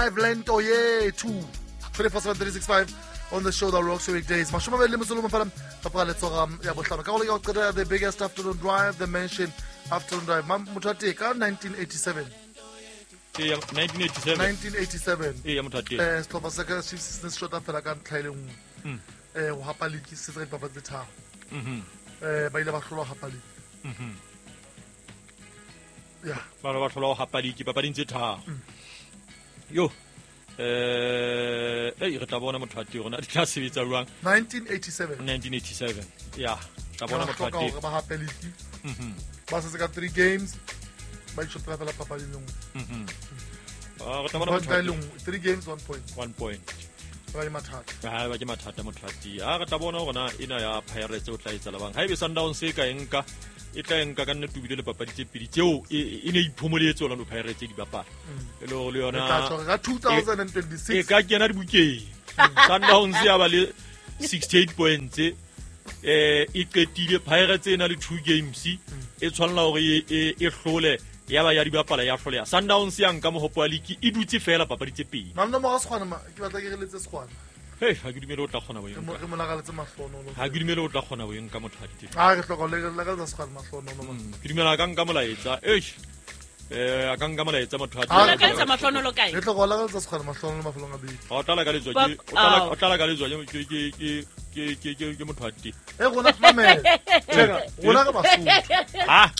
Five lento yethu 24/7 on the show that rocks your weekdays. Mashome a mabedi le metso le mong fela ka pela letsoga ya bohlano. Ka go leka go qetela the biggest afternoon drive, the mansion afternoon drive. Motho wa tee ka 1987. Ee, 1987. 1987. Ee, motho wa tee. Sehlopha sa Kaizer Chiefs se ne se shota fela ka ntlha e le nngwe. Go hapa league se tsa dipapadi tse tharo. Ba ile ba hlolwa ho hapa league. Yeah. Ba ba hlolwa ho hapa league papading tse tharo. Yo. Ei re tla bona motho wa teng rona di tla sebetsa jwang. 1987. 1987. Yeah, tla bona motho wa teng. Ba hape league. Ba setse ka 3 games. Ba itshotela fela papadi le nngwe. Re tla bona motho wa teng. 3 games 1 point. 1 point. Ba ke mathata. Ha ba ke mathata motho wa teng. Ha re tla bona hore na ena ya Pirates o tla etsa labang. Haebe Sundowns e ka e nka, e tla nka ka nnete ebile le papadi tse pedi tseo e ne iphomoletse Orlando Pirates di bapala. E le hore le yona E tla tshwara ka 2026. E ka kena dibukeng. Sundowns ya ba le 68 points. E qetile Pirates e na le 2 games. E tshwanela hore e hlole ya ba ya di bapala ya hloleha. Sundowns ya nka mohopo wa league e dutse fela papadi tse pedi. Malome wa Sekgwana ma, ke batla ke re letse Sekgwana. Hey, ha ke dumele o tla kgona ho e nka. Re mo lakaletse mahlohonolo. Ha ke dumele o tla kgona ho e nka motho wa ditefo. Ha re hloka ho lakaletsa Sekgwana mahlohonolo, man. Ke dumela a ka nka molaetsa. Eish. A ka nka molaetsa motho wa Ha ditefo. re Lakaletsa mahlohonolo kae? Re hloka ho lakaletsa Sekgwana mahlohonolo mafelong a beke. Ha o tla lakaletswa Ba- ke, o tla Ao. o tla lakaletswa ke, ke, ke, ke, ke, ke, ke motho wa ditefo. Eh, rona, mamela. Tjena, rona re Basotho. Ha?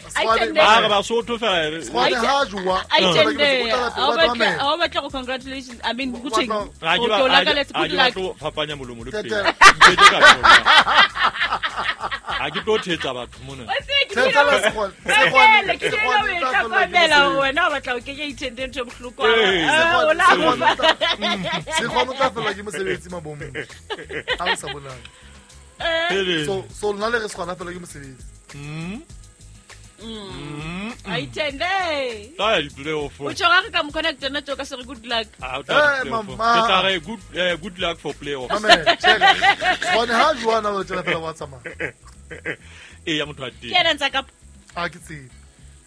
Sekgwane, Ha re Basotho fela, re- Sekgwane ha jowa. A Sekgwane itende. ke motho, o tla Ha o tla batla, mamela. ha o batla go congratulations. I mean, O good thing. batla- Ha ke ba- O ke o ha ke- lakaletse ha good ke luck. batle ho fapanya molomo le Tete. pele. Nke ke ka tlola. Ha ke tlo thetsa batho mona. O tsebe ke Thetsa dira- la Sekgwane. Mamela, ke Sekgwane, dira o e Sekgwane o tla fellwa ke hlokomela mosebetsi. wena o batla ho kenya itende ntho e bohloko. Ee. Ah, o la Sekgwane, mo fa. Sekgwane o tla fellwa ke mosebetsi mabomong. Ha o sa bonang. Pele. So lona le re Sekgwane a fellwa ke mosebetsi. A itende. Tla ya di-playoff. O tjho ga re ka mo connecta nna tjo ka se re good luck. Ah, o tla ya Eh, di-playoff. mama. Ke tla re good luck for playoff. Mamela, tjhela. Sekgwane ha jowa na o tjela fela wa tsamaya. Ee, ya motho wa teng. Ke yena ntsa ka Ha ke tsebe.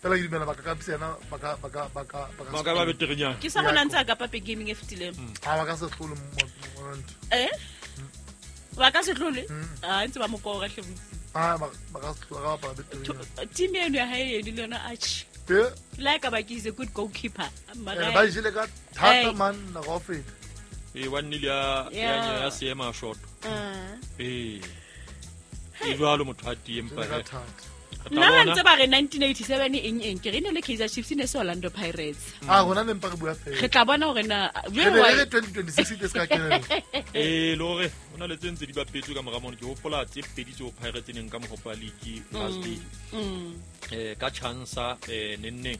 Fela ke dumela ba ka kapisa yena, ba ka, ba ka, ba ka, ba ka Ba ka ba beterenyana. ke sa bona ntsa ka pape gaming e fetileng. Ha ba ka se hlole ntho. Eh? Ba ka se hlole? Ah, ntse ba mo kora hle botsi. Ah, ba ka se hlole, ba bapala beterenyana. Team eno ya hae eno le yona atjhe. Eh? Le ha e ka ba ke is a good goalkeeper. Mara Ba e jele ka thata Hey. man, nako ya ho feta. Ee, wa nnile ya, ya, Yeah. ya seema short. Ah. Ee. E jwalo motho wa teng, empa Jele ka he. thata. Re tla Nna ha bona. ntse ba re 1987 eng eng, ke re ne le Kaizer Chiefs e ne se Orlando Pirates. Ah, rona ne mpa re bua fela. Re tla bona hore na Re jwale ne re why re 2026 e se ka kenella. Ee, le hore ho na le tse ntse di bapetswe ka mora mono. Ke hopola tse pedi tseo Pirates e neng ka mohopo wa league last day. Ka chance, nenneng.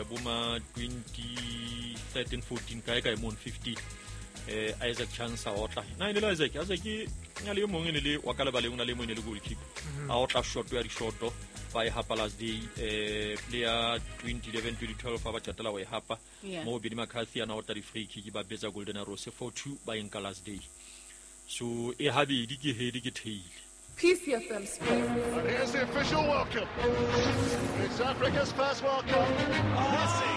Bo ma 2013, 14, kae kae mono, 15. Isaac Chance a otla. Na e ne le Isaac, Isaac e na le e mong e ne le wa ka lebaleng, o na le e mong e ne le goalkeeper. A otla shot ya dishoto, ba e hapa last day. Player 2011, 2012 ha ba qetela ho e hapa. Yeah. Moo Benny McCarthy a na otla di-free kick, ba betsa Golden Arrows 4-2, ba e nka last day. So e habedi ke head ke tail. PCFM Sports. And here's the official welcome. It's Africa's first World Cup. Messi.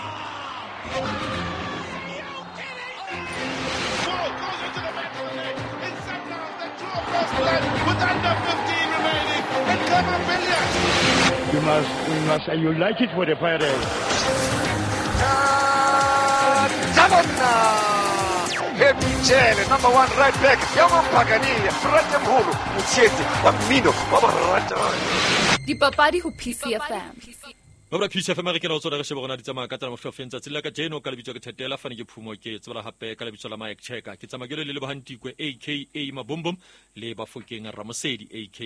Ball goes into the back of the net. It's Sundowns that draw first blood with under 15 remaining. And Clement Billiat. You must, you like it for the Pirates. Happy number 1 right back, ya Mphakania, Frate Mholo, Motshetsi wa mmino wa borata. Dipapadi ho PCFM. Babra PCFM re kena ho tsona re shebe rona di tsamaya ka tsela mohlofeng tsatsi la kajeno ka lebitso ke Thetela fane ke Phumo ke tsebela hape ka lebitso la Mike Checker ke tsamaya ke le Lebohantikwe aka Mabombom le Bafokeng Ramosedi aka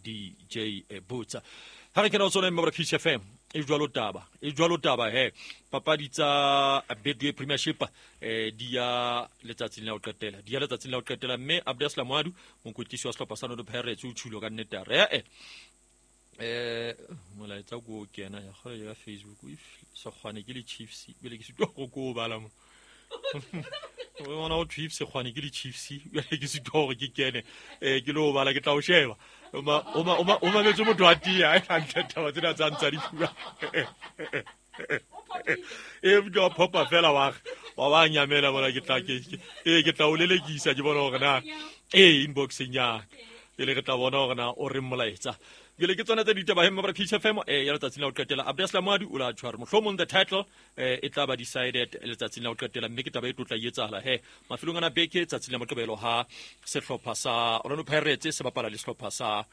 DJ Botsa. Ha re kena ho tsona Babra PCFM e jwalo taba, e jwalo taba he. Papadi tsa Betway Premiership di ya letsatsing la ho qetela, di ya letsatsing la ho qetela mme Abdeslam Ouaddou mokwetlisi wa sehlopha sa Orlando Pirates o tjhulo ka nnete a re molaetsa ko o kena ya kgole ya Facebook if Sekgwane ke le Chiefs bele ke sitwa go ko o bala mo. O bona o Chiefs Sekgwane ke le Chiefs bele ke sitwa hore ke kene ke lo bala ke tla o sheba. O ma, o ma, o ma, o mametse motho wa tia, ha e hantle taba tsena tsa ntsa di bua. E ke wa phopa fela wa ba nyamela bona ke tla ke tla o lelekisa ke bona hore na inboxeng ya ke le re tla bona hore na o re molaetsa. Jwale ke tsona tse ditaba he mabra Peace FM ya letsatsing la ho qetela. Abdeslam Moadu o la tshwara mohlomong the title e tla ba decided letsatsing la ho qetela, mme ke taba e tlotla etsahala he mafelong ana beke tsatsing la Moqebelo ha sehlopha sa Orlando Pirates se bapala le sehlopha sa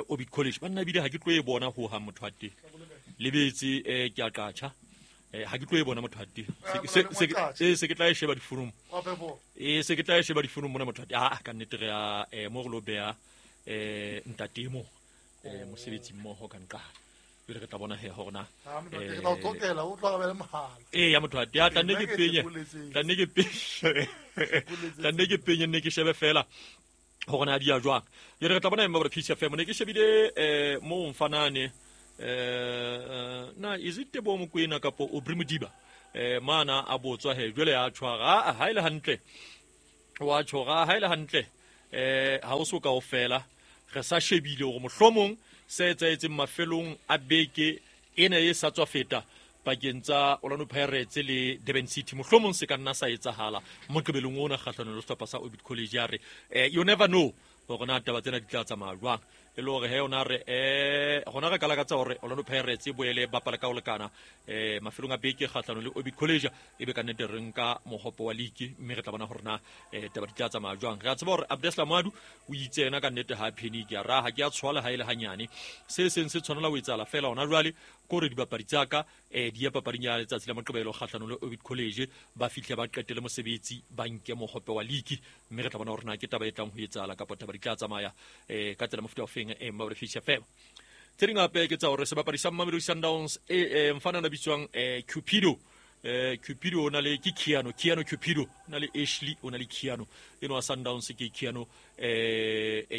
Orbit College. Banna bile ha ke tlo e bona ho ha motho a teng lebetse ke a qatjha ha ke tlo e bona motho a teng se ke tla e sheba difonong se ke tla e sheba difonong mona motho a teng a ka nnete re ya mo re lo beha ntatemo mosebetsi mmoho ka nqala pele re tla bona he hore na ya motho a teng tla nne ke penye tla nne ke penye nne ke shebe fela hore na di ya jwang. Jwale re tla bona mme Peace FM ne ke shebile mo mfanane na is it Tebo Mokoena kapo Aubrey Modiba mana a botswa he jwale ya tshwara ha ile hantle wa tshwara ha ile hantle ha o so kaofela re sa shebile hore mohlomong se etsaetseng mafelong a beke ena e sa tswa feta pakeng tsa Orlando Pirates le Durban City mohlomong se ka nna sa etsahala moqebelong ona kgahlanong le sehlopha sa Orbit College. Ya re you never know hore na taba tsena di tla tsamaya jwang, e le hore he ona re hona re ka lakatsa hore Orlando Pirates e boele bapala ka ho lekana mafelong a beke kgahlanong le Orbit College, e be ka nnete re nka mohopo wa league, mme re tla bona hore na taba di tla tsamaya jwang. Re a tseba hore Abdeslam Moadu o itse yena ka nnete ha panic ya ra ha ke a tshwala ha ile hanyane, se seng se tshwanela ho etsahala fela hona jwale ko re dibapadi tsa ka di ya papading ya letsatsi la Moqebelo kgahlanong le Orbit College ba fihle ba qetele mosebetsi ba nke mohope wa league, mme re tla bona hore na ke taba e tlang ho etsahala kapa taba di tla tsamaya ka tsela mofuta ofeng Mabra Peace FM. Tse ding hape ke tsa hore sebapadi sa Mamelodi Sundowns mfana na bitswang Cupido Cupido o na le ke Keanu Cupido o na le Ashley o na le Keanu eno wa Sundowns ke Keanu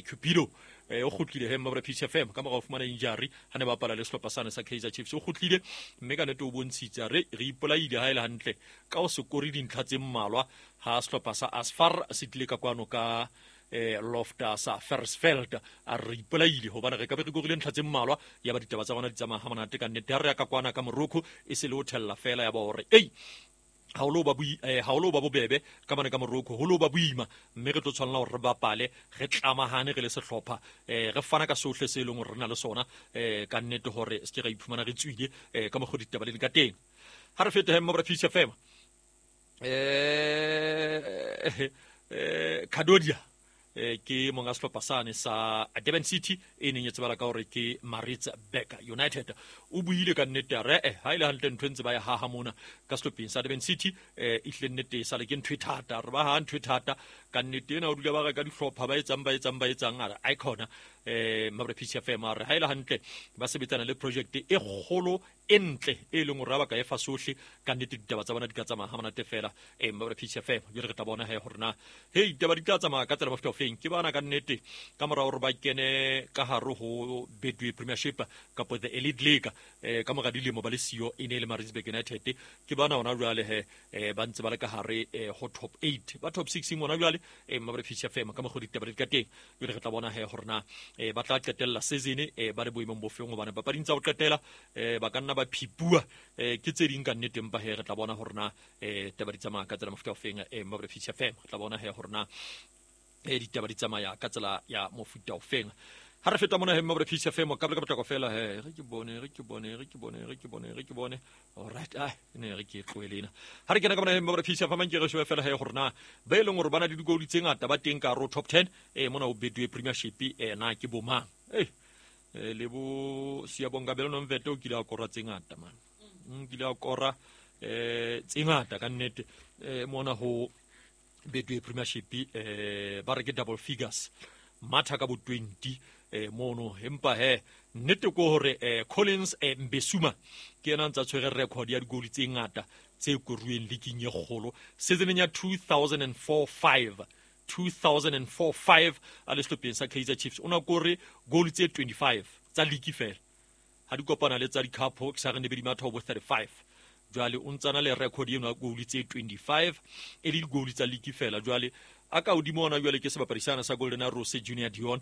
Cupido o kgutlile he Mabra Peace FM ka mora ho fumana injury ha ne bapala le sehlopha sane sa Kaizer Chiefs. O kgutlile mme ka nnete o bontshitse re ipolaile ha ile hantle ka o se kore dintlha tse mmalwa ha sehlopha sa Asfar se tlile ka kwano ka Lofta sa Fersfeld a re ipolaile hobane re ka be re korile ntlha tse mmalwa ya ba ditaba tsa bona di tsamaya ha monate ka nnete. Ha re ya ka kwana ka Morocco e se le ho thella fela ya ba hore ei ha o lo ba bobebe ka mane ka Morocco ho lo ba boima, mme re tlo tshwanela hore re bapale re tlamahane re le sehlopha re fana ka sohle se leng hore re na le sona ka nnete hore se ke ra iphumana re tswile ka mokgwa ditaba le ka teng. Ha re fete he Mabra Peace FM Kadodia ke monga sehlopha sane sa Durban City e neng e tsebala ka hore ke Maritzburg United. O buile ka nnete a re ha ile hantle ntho ntse ba ya haha mona ka sehlopheng sa Durban City e hle nnete e sale ke ntho e thata, re ba ha ntho e thata ka nnete ena o dula ba reka dihlopha ba etsang a re icona Mabra Peace FM a re ha ile hantle ba sebetsana le project e kgolo e ntle e leng hore ba ka e fa sohle ka nnete ditaba tsa bona di ka tsamaya ha monate fela Mabra Peace FM. Jwale re tla bona he hore na hei ditaba di tla tsamaya ka tsela mofuta ofeng. Ke bana ka nnete ka mora hore ba kene ka hare ho Betway Premiership kapa the Elite League ka mora dilemo ba le siyo e ne le Maritzburg United, ke bana hona jwale he ba ntse ba le ka hare ho top 8 ba top 6 hona jwale Mabra Peace FM ka mokgwa ditaba di ka teng. Jwale re tla bona he hore na ba tla qetella season ba le boemong bofeng hobane papading tsa ho qetela ba ka nna ba phipua ke tse ding ka nnete, empa he re tla bona hore na taba di tsamaya ka tsela mofuta ofeng Mabra Peace FM. Re tla bona he hore na ditaba di tsamaya ka tsela ya mofuta ofeng. Ha re feta mona he Mabra Peace FM ka potlako fela he re ke bone all right ne re ke tlohele ena. Ha re kena ka mona he Mabra Peace FM ke re shebe fela he hore na ba e leng hore bana le digoli tse ngata ba teng ka ro top 10 mona o Betway Premiership na ke bomang le bo Siyabonga Belo Nomvete o kile a kora tse ngata man kile a kora tse ngata ka nnete mona ho Betway Premiership ba re ke double figures matha ka bo 20 mono, empa he nnete ko hore Collins Mbesuma ke yena ntsa tshwere record ya digoli tse ngata tse koruweng leaking e kgolo seasoneng ya 2004-5 2004-5 a le sehlopheng sa Kaizer Chiefs o na kore goal tse 25 tsa league fela ha di kopana le tsa di-cup ke sa re ne be di matha ho bo 35. Jwale o ntsana le record eno ya goal tse 25 e le di-goal tsa league fela. Jwale a ka hodimo ona jwale ke sebapadi sana sa Golden Arrows Junior Dion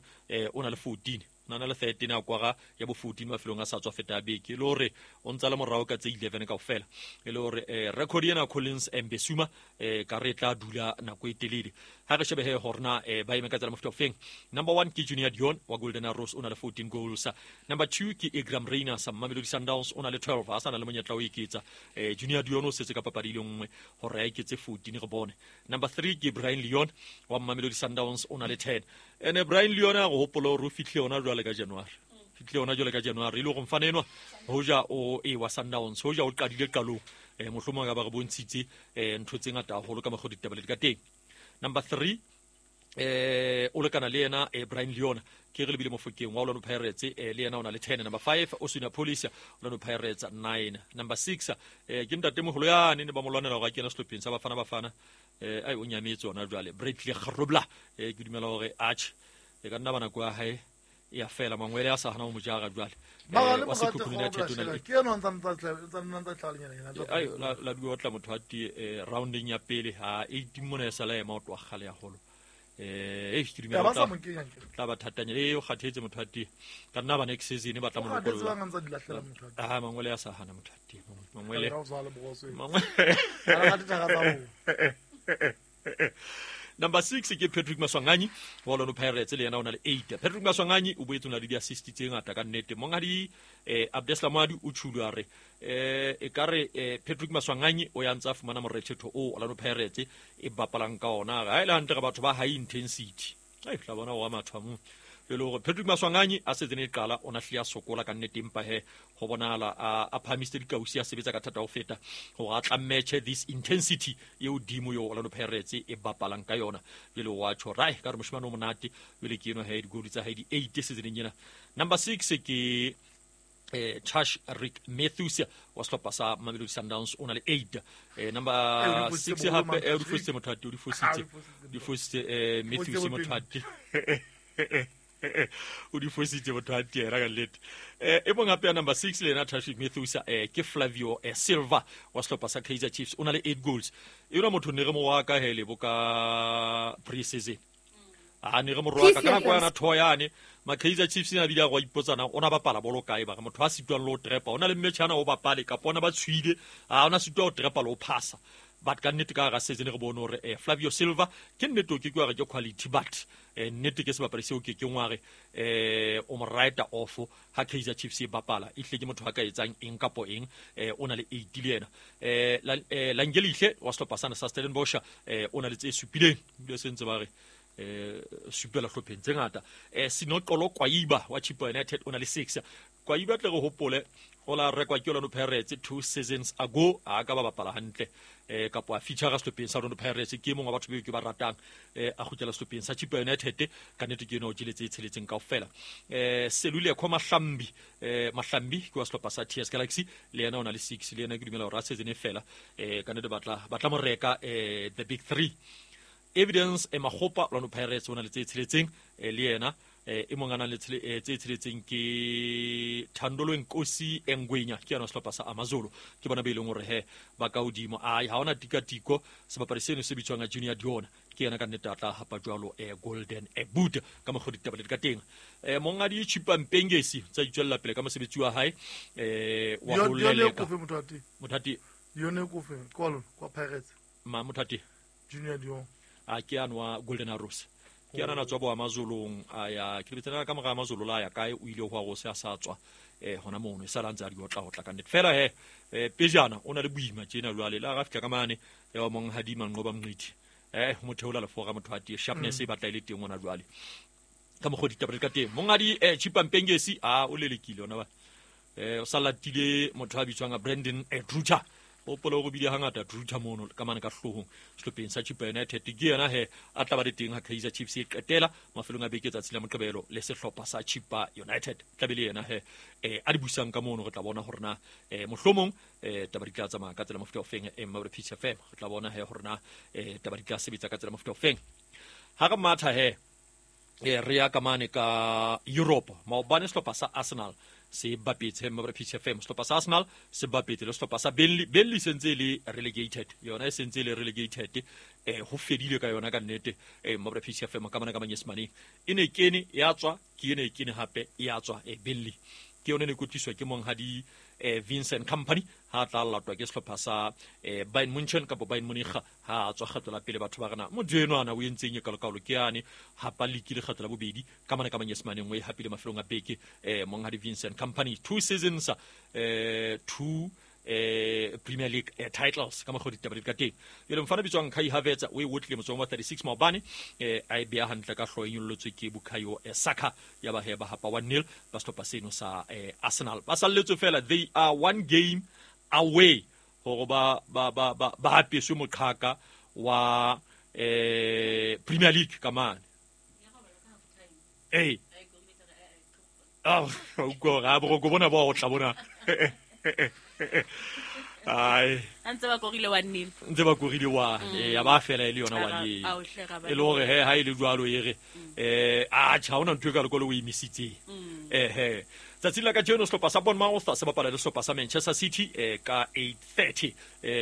o na le 14 Na le 13 a kwara ya bo 14 mafelong a sa tswa feta beke le hore o ntsa le morao ka tse 11 kaofela e le hore record ena Collins Mbesuma ka re tla dula nako e telele ha re shebe he hore na ba eme ka tsela mofuta ofeng. Number 1 ke Junior Dion wa Golden Arrows o na le 14 goals. Number 2 ke Igram Reina sa Mamelodi Sundowns o na le 12 a sa na le monyetla o eketsa. Junior Dion o setse ka papadi le nngwe hore a eketse 14 re bone. Number 3 ke Brian Leon wa Mamelodi Sundowns o na le 10. Ene Brian Leon a go hopola hore o fihle ona jwale ka January. Fihle ona jwale ka January e le hore mfana enwa hoja o e wa Sundowns hoja o qadile qalong mohlomong ka ba re bontshitse ntho tse ngata haholo ka mokgwa ditaba le ka teng. Number 3 o lekana le yena Brian Leon ke re lebile Mofokeng wa Orlando Pirates le yena o na le 10. Number 5 Oswin Police Orlando Pirates 9. Number 6 ke ntate moholo yane ne ba mo lwanela hore a kena sehlopheng sa Bafana Bafana ai o nyametse ona jwale Bradley Grobler ke dumela hore atjhe e ka nna ba nako ya hae ya fela mangwele a sa hana ho mo jara jwale wa Sekhukhune United o na le ke yena ntsa tlalenyana yena ai la dua tla motho a tie rounding ya pele ha 18 mona e sala ema o tloha kgale haholo ke dumela tla ba thatanya o kgathetse motho a tie ka nna ba next season ba tla mo lokolla ah mangwele a sa hana motho a tie mangwele Number 6 ke Patrick Maswanganyi wa Orlando Pirates le yena o na le 8. Patrick Maswanganyi o boetse o na le di-assist tse ngata ka nnete. Monghadi Abdeslam Wadi o tjhulo a re e ka re Patrick Maswanganyi o ya ntsa fumana morethetho o Orlando Pirates e bapalang ka ona. Ha ile hantle re batho ba high intensity. Ai tla bona wa matho a mo. Le hore Patrick Maswanganyi a setse ne qala ona hlile a sokola ka nnete empa he ho bonahala a phahamisitse dikausi a sebetsa ka thata ho feta hore a tla match this intensity eo dimo yo Orlando Pirates e bapalang ka yona. Jwale wa tjho rai ka re moshemane o monate jwale ke eno he digoli tsa hae di 8 season ena. Number 6 ke Chash Rick Matthews wa sehlopha sa Mamelodi Sundowns o na le 8. Number 6 hape o di fositse motho a di fositse Matthews motho a o di fositse motho a tiera ka nnete. E mong hape ya number 6 le yena Trashik Matthews ke Flavio Silva wa sehlopha sa Kaizer Chiefs o na le 8 goals. Ena motho ne re mo wa ka hele bo ka pre-season. A ne re mo roaka ka nako yana thoya yane ma Kaizer Chiefs ina bile a go ipotsana ona bapala bolo kae ba motho a sitwang le ho trepa ona le mmetjhana o bapale kapa ona ba tshwile a ona sitwa ho trepa le ho phasa. But ka nnete ka ga season re bone hore Flavio Silva ke nnete o ke ke wa re ke quality but nnete ke sebapadi seo ke ngwa re o mo writer off ha Kaizer Chiefs e bapala e hle ke motho a ka etsang eng kapo eng o na le 8 le yena. Langelihle wa sehlopha sana sa Stellenbosch o na le tse supileng le sentse ba re supela hlopheng tse ngata. Sinoxolo Kwayiba wa Chippa United o na le 6. Kwayiba tle re hopole o la rekwa ke Orlando Pirates 2 seasons ago a ka ba bapala hantle kapo a feature sehlopheng sa Orlando Pirates ke mongwe wa batho beo ke ba ratang a kgutlela sehlopheng sa Chippa United ka nnete ke ena o jeletse e tsheletseng kaofela. Seluleko Mahlambi Mahlambi ke wa sehlopha sa TS Galaxy le yena o na le 6 le yena ke dumela hore a season e fela ka nnete batla mo reka the big 3. Evidence Makgopa Orlando Pirates o na le tse tsheletseng le yena e mong a nang le tse tsheletseng ke Thandolo Nkosi Engwenya ke yona sehlopha sa Amazulu ke bona be leng hore he ba ka hodimo ai ha ona tikatiko sebapadi seno se bitswang Junior Dion ke yena ka nnete a tla hapa jwalo Golden Boot ka mokgwa ditaba le ka teng. Mongadi Chipa Mpengesi tsa itswella pele ka mosebetsi wa hae wa ho leleka Mothati yone ko fe kwa kwa Pirates ma Mothati Junior Dion a ke anwa Golden Arrows ke ana tswa bo Amazulong a ya ke bitsana ka mora Amazulu la ya kae o ile ho go se a sa tswa hona mono e sala ntse a di otla ho tla ka nnete fela he pejana o na le boima tjena jwale la ga fihla ka mane ya wa mong Hadima Nqoba Mnqithi motho o la lefora motho a tie sharpness e batla ile teng ona jwale ka mokgwa ditaba le ka teng. Mongadi Chipa Mpengesi a o lelekile ona ba o sa latile motho a bitswang Brandon Druta o polo go bile hangata Druta mono ka mane ka hlohong sehlopheng sa Chippa United ke yena he a tla ba le teng ha Kaizer Chiefs e qetela mafelong a beke tsatsi la Moqebelo le sehlopha sa Chippa United tla be le yena he a di busang ka mono re tla bona hore na mohlomong taba di tla tsamaya ka tsela mofuta ofeng Maure Peace FM re tla bona he hore na taba di tla sebetsa ka tsela mofuta ofeng ha re matha he re ya ka mane ka Europe maobane sehlopha sa Arsenal Se bapetse mabra PCFM sehlopha sa Arsenal se bapetse le sehlopha sa Burnley. Burnley sentse le relegated, yona e sentse le relegated, ho fedile ka yona ka nnete. Mabra PCFM ka mana ka manyesemane e ne kene ya tswa, ke ene e kene hape ya tswa. Burnley ke yone ne kwetliswa ke monghadi Vincent Company, ha tla latwa ke sehlopha sa Bayern Munchen kapa Bayern Munich, ha tswa kgetlo la pele. Batho ba rena motho enwa o entseng e kalokalo ke yane hapa league le kgetlo la bobedi ka mana ka manyesemane nngwe hapile mafelong a beke. Monghadi Vincent Company 2 seasons, 2 Premier League titles ka mokgwa ditaba di ka teng. Jwale mfana bitswang Kai Havertz o e otlile motsong wa 36 maobane, a e beha hantle ka hlooho e nyolotswe ke Bukayo Saka, ya ba he ba hapa 1-0 ba sehlopha seno sa Arsenal. Ba salletswe fela, they are one game away hore ba apeswe moqhaka wa Premier League ka mane. Ah, boroko bona ba o tla bona. Ai ntse ba korile 1-0, ntse ba korile 1, ya ba fela e le yona 1 e le hore he ha ile jwalo e re a tjha ona ntho e ka lekolo o emisitse. Tsatsing la kajeno sehlopha sa Bournemouth se bapala le sehlopha sa Manchester City ka 8:30,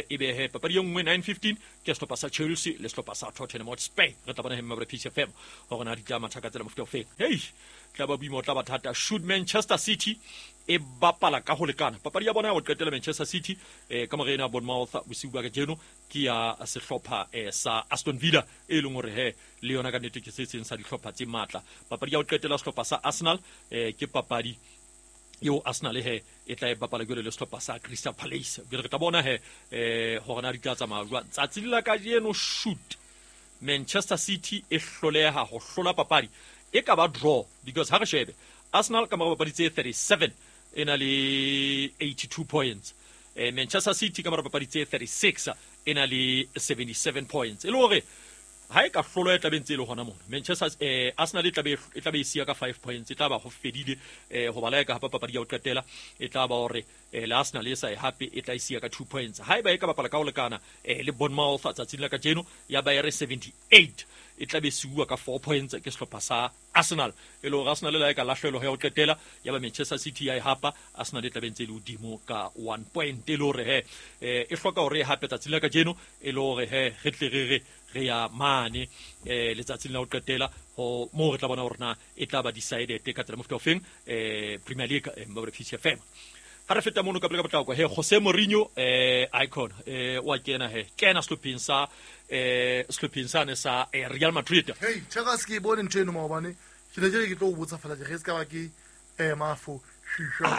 ebe he papadi e nngwe 9:15 ke sehlopha sa Chelsea le sehlopha sa Tottenham Hotspur. Re tla bona he mabra PCFM hore na di tla matha ka tsela mofuta ofe. Hey, tla ba boima, tla ba thata. Should Manchester City e bapala ka ho lekana papadi ya bona ya ho qetela Manchester City ka morena ya Bournemouth bosiu ba kajeno ke ya sehlopha sa Aston Villa, e leng hore he le yona ka nnete ke se seng sa dihlopha tse matla. Papadi ya ho qetela sehlopha sa Arsenal ke papadi eo Arsenal he e tla e bapala jwale le sehlopha sa Crystal Palace. Jwale re tla bona he hore na di tla tsamaya jwang. Tsatsing la kajeno shoot Manchester City e hloleha ho hlola papadi e ka ba draw, because ha re shebe Arsenal ka mora papadi tse 37 e na le 82 points, Manchester City ka mora papadi tse 36 e na le 77 points. E le hore ha e ka hlolo e tla be ntse e le hona mona Manchester Arsenal e tla be e siya ka 5 points, e tla ba ho fedile ho bala ka hapa papadi ya ho qetela, e tla ba hore le Arsenal e sa e hape e tla e siya ka 2 points. Ha eba e ka bapala ka ho lekana le Bournemouth tsatsing la kajeno ya ba e re 78, e tla be siuwa ka 4 points ke sehlopha sa Arsenal. E le hore Arsenal le la e ka lahlelwa ya ho qetela ya ba Manchester City ya e hapa, Arsenal e tla be ntse e le hodimo ka 1 point. E le hore he e hloka hore e hape tsatsing la kajeno, e le hore he re tle re re ya mane letsatsing la ho qetela ho moo re tla bona hore na e tla ba decided ka tsela mofuta ofeng Premier League mabra PCFM. Ha re feta mono ka pele ka potlako he Jose Mourinho icon wa kena he kena sehlopheng sa sehlopheng sane sa Real Madrid. Hey, chaka se ke bone ntho eno maobane, ke ne ke re ke tlo o botsa fela ke se ka ba ke mafo.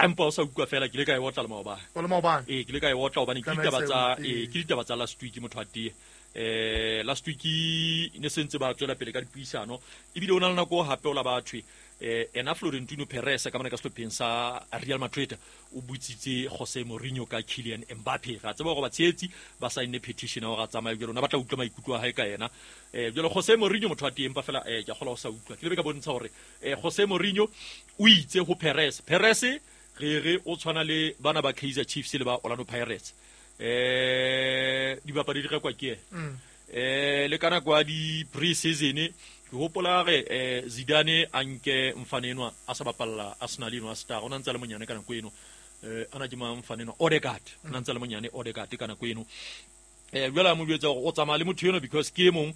Empa o sa utlwa fela ke ile ka e otla le maobane. O le maobane? Ee, ke ile ka e otla hobane ke ditaba tsa ke ditaba tsa last week motho a tee. Last week ne sentse ba tswela pele ka dipuisano, ebile o na le nako hape o la bathwe ena Florentino Perez ka mona ka sehlopheng sa Real Madrid o butsitse Jose Mourinho ka Kylian Mbappe. Ra tseba hore batshehetsi ba saenne petition ya hore a tsamaye, jwale ona ba tla utlwa maikutlo a hae ka yena. Jwale Jose Mourinho motho wa teng empa fela ke a kgolwa ho sa utlwa. Ke lebe ka bontsha hore Jose Mourinho o itse ho Perez, Perez re re o tshwana le bana ba Kaizer Chiefs le ba Orlando Pirates. Dibapadi di rekwa ke ena. Le ka nako ya di pre-season ke hopola re Zidane a nke mfane enwa a sa bapalla Arsenal eno a star, o na ntse a le monyane ka nako eno. Ana ke mang mfane enwa Odegaard, o na ntse a le monyane Odegaard ka nako eno. Jwale a mo jwetsa hore o tsamaya le motho eno because ke e mong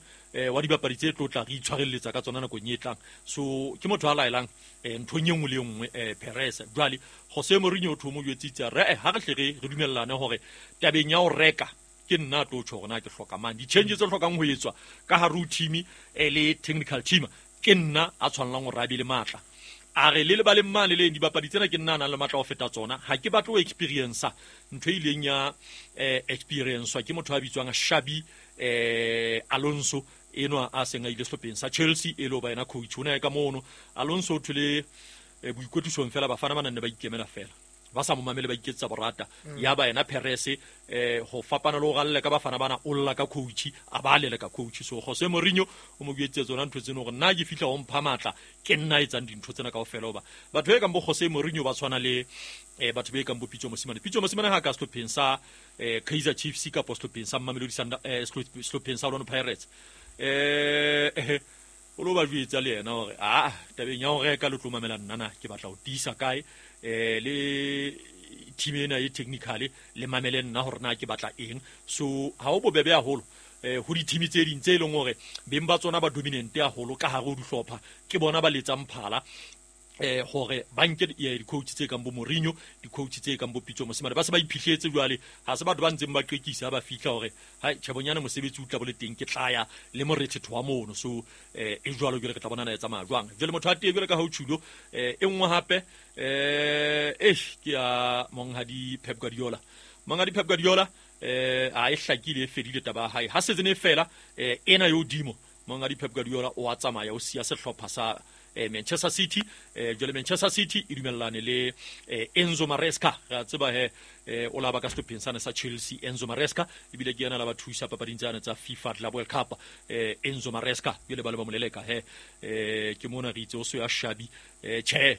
wa dibapadi tse tlo tla re itshwarelletsa ka tsona nakong e tlang. So ke motho a laelang nthong e nngwe le e nngwe Perez. Jwale Jose Mourinho o tho mo jwetsitse re ha re hle re dumellane hore tabeng ya ho reka ke nna tlo tjho hore na ke hloka mang, di-changes tse hlokang ho etswa ka hare ho team le technical team ke nna a tshwanelang hore a be le matla. A re le lebaleng mane le dibapadi tsena ke nna a nang le matla ho feta tsona, ha ke batle ho experience ntho e ileng ya experience ke motho a bitswang Xabi Alonso enwa a seng a ile sehlopheng sa Chelsea e le ho ba yena coach. O ne a ye ka mono Alonso o thole boikwetlisong fela bafana ba nang ne ba ikemela fela ba sa mo mamele ba iketsetsa borata. Ya ba yena Perez ho fapana le ho ralle ka bafana bana o lla ka coach, a ba lele ka coach. So Jose Mourinho o mo buetse tsona ntho tseno hore nna ke fihla ho mpha matla, ke nna etsang dintho tsena kaofela. Hoba batho ba kang bo Jose Mourinho ba tshwana le batho ba kang bo Pitso Mosimane. Pitso Mosimane ha ka sehlopheng sa Kaizer Chiefs kapa sehlopheng sa Mamelodi Sundowns, sehlopheng sa Orlando Pirates, o lo ba jwetsa le yena hore tabeng ya ho reka le tlo mamela nna na ke batla ho tiisa kae. le team ena e technically le mamele nna hore na ke batla eng. So ha o bobebe haholo ho di-team tse ding tse e leng hore beng ba tsona ba dominant haholo ka hare ho dihlopha, ke bona ba letsang phala hore ba nke di-coach tse kang bo Mourinho, di-coach tse kang bo Pitso Mosimane. Ba se ba iphihletse jwale, ha se batho ba ntseng ba qekisa ba fihla hore hai tjhebonyana mosebetsi o tla bo le teng, ke tlaya le morethetho wa mono. So e jwalo jwale re tla bona na e tsamaya jwang. Jwale motho a tee jwale ka ha o tjhulo e nngwe hape ke ya monghadi Pep Guardiola. Monghadi Pep Guardiola a e hlakile e fedile taba ya hae ha season e fela, ena yo dimo monghadi Pep Guardiola o a tsamaya, o siya sehlopha sa Manchester City. Jwale Manchester City e dumellane le Enzo Maresca. Re a tseba he o la ba ka sehlopheng sane sa Chelsea Enzo Maresca, ebile ke yena la ba thusa papading tsane tsa FIFA Club World Cup. Enzo Maresca jwale ba le ba moleleka he ke mona re itse o so ya Xabi tjhe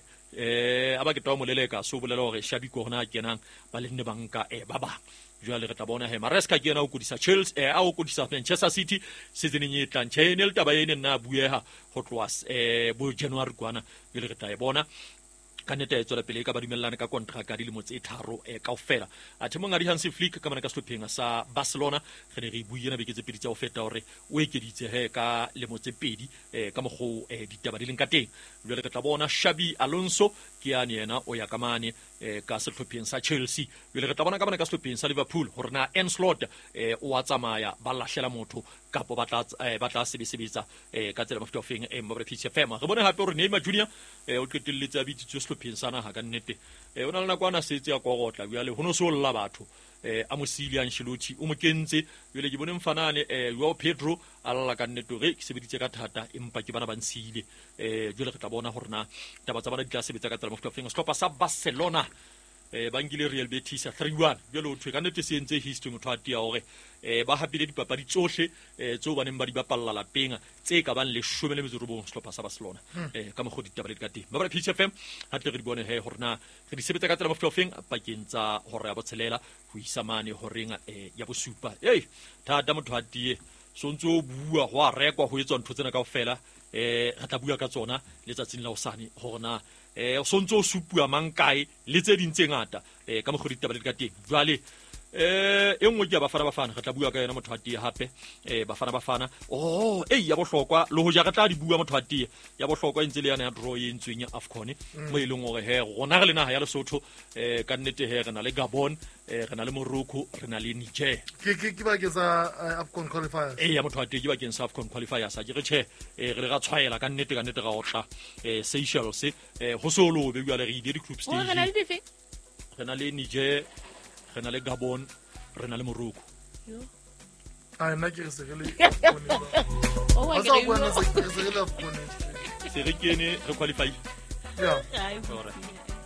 a ba ke twa moleleka, so bolela hore Xabi ke hona a kenang ba le nne banka ba bang. Jwale re tla bona he Maresca ke yena o kodisa Chelsea, a o kodisa Manchester City seasoneng e tlang. Tjhe, ne le taba ene nna a bueha ho tloha bo January kwana. Jwale re tla e bona ka nnete e tswela pele e ka ba dumellane ka kontraka dilemo tse 3 kaofela. Athe monghadi Hansi Flick ka mona ka sehlopheng sa Barcelona re ne re buile beke tse pedi tsa ho feta hore o ekeditse he ka lemo tse 2 ka mokgo ditaba di leng ka teng. Jwale re tla bona Xabi Alonso ke yane yena o ya ka mane ka sehlopheng sa Chelsea. Jwale re tla bona ka mona ka sehlopheng sa Liverpool hore na Arne Slot o a tsamaya ba lahlela motho kapo ba tla sebetsa ka tsela mofuta ofeng Mobile PCFM. Re bone hape hore Neymar Junior o qetelletse a bitsitswe sehlopheng sa naha ka nnete. O na le nako ana setse ya korotla jwale ho no so lla batho a mo siile Ancelotti o mo kentse. Jwale ke bone mfanane Joao Pedro a lla ka nnete hore ke sebeditse ka thata empa ke bana ba nsiile. Jwale re tla bona hore na taba tsa bana di tla sebetsa ka tsela mofuta ofeng. Sehlopha sa Barcelona ba nkile Real Betis 3-1. Jwale ho thwe ka nnete se entse history motho a tia hore ba hapile dipapadi tsohle tseo ba neng ba di bapalla lapeng tse ka bang 19 sehlopha sa Barcelona. Ka mokgwa ditaba le di ka teng. Ba PCFM ha tle re di bone he hore na re di sebetsa ka tsela mofuta ofeng pakeng tsa hora ya 6 ho isa mane horeng ya 7. Ei thata motho a tie so ntse o bua ho a rekwa ho etswa ntho tsena kaofela. Re tla bua ka tsona letsatsing la hosane hore na o sontse o supua mang kae le tse ding tse ngata ka mokgwa ditaba le di ka teng. Jwale e nngwe ke ya Bafana Bafana, re tla bua ka yona motho a tie hape. Bafana Bafana ya bohlokwa le hoja re tla di bua motho a tie ya bohlokwa e ntse le yane ya draw e entsweng ya AFCON mo e leng hore he rona re le naha ya Lesotho ka nnete he re na le Gabon, re na le Morocco, re na le Niger. Ke bakeng sa AFCON qualifiers. Ya motho a tie ke bakeng sa AFCON qualifiers. Ke re tjhe re le ra tshwaela ka nnete ra otla Seychelles ho so lobe jwale re ile di-group stage. Re na le dife? Re na le Niger, re na le Gabon, re na le Morocco. A nna ke re se re le Se re kene re qualify. Yeah.